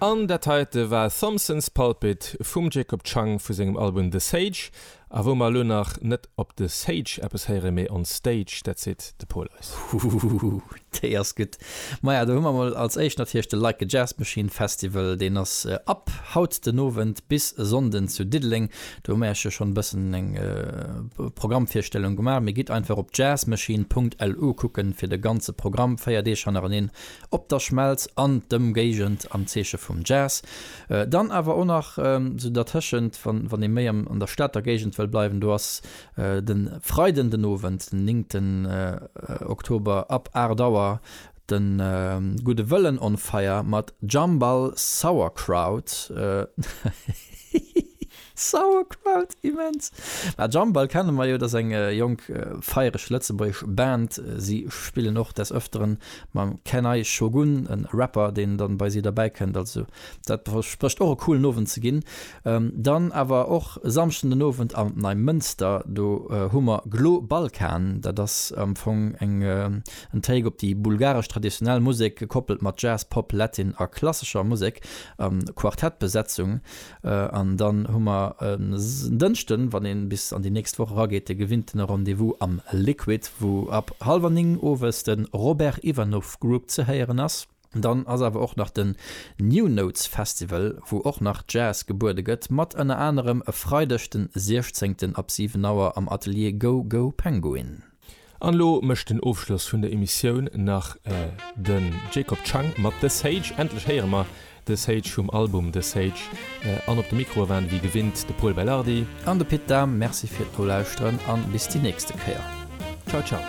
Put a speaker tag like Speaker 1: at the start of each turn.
Speaker 1: An dat heite war Thompson's Pulpit vum Jacob Chang vu sengem Album The Sage. A wou mer elo nach net op The Sage eppes héieren, mee on Stage, dat seet de Pol eis.
Speaker 2: Huhuhuhu, déi ass gutt. Maja, do hu mer mol als éischt natierlech de Like a Jazz Machine Festival. Deen ass ab haut den Owend bis e Sonnden zu Diddeleng. Do hu mer iech jo schonn e bëssen eng Programmvirstellung gemaach. Mee gitt einfach op jazzmachine.lu kucken fir de ganze Programm, 4 Deeg hannereneen Op der Schmelz an d'Ëmgéigend am Zeeche vum Jazz. Dann awer och nach sou dertëschent, wann ee méi an der Stater Géigend wëll bleiwen, do ass de Freiden den Owend, den néngten Oktober ab 8 Auer de Gudde Wëllen on Fire mat Jambal Sauerkraut. Sauerkraut, immens! Mä Jambal kenne mer jo, dat ass eng jonk feiereg lëtzebuergesch Band. Si spillen och des Ëfteren mam Kenai Shogun, e Rapper, deen dann bei si derbäi kënnt. Also dat versprécht och e coolen Owend ze ginn. Dann awer och e Samschden den Owend am Neimënster, do hu mer Glo Balkan. Dat ass am Fong eng en Take op déi bulgaresch traditionell Musek, gekoppelt mat Jazz, Pop, Latin a klassescher Musek a Quartettbesetzung. An dann hu mer en Dënschden, wann een bis an déi nächst Woch erageet, de gewinntene Rendez-vous am Liquid, wou ab hallwer 9 owes de Robert Ivanov Group ze héieren ass. Dann ass awer och nach den New Notes Festival, wou och nach Jazz gebuede gëtt, mat ënner anerem e Freideg den 16 ab 7 Auer am Atelier Go Go Penguin.
Speaker 1: An elo mécht den Ofschloss vun der Emissioun nach den Jacob Chang mat The Sage. Endlech héiere mer The Sage vum Album The Sage. An op de Mikroe waren wéi gewinnt de Pol Belardi.
Speaker 2: An de Pit Dahm. Merci fir d'Nolauschteren an bis déi nächste Kéier.
Speaker 1: Ciao ciao.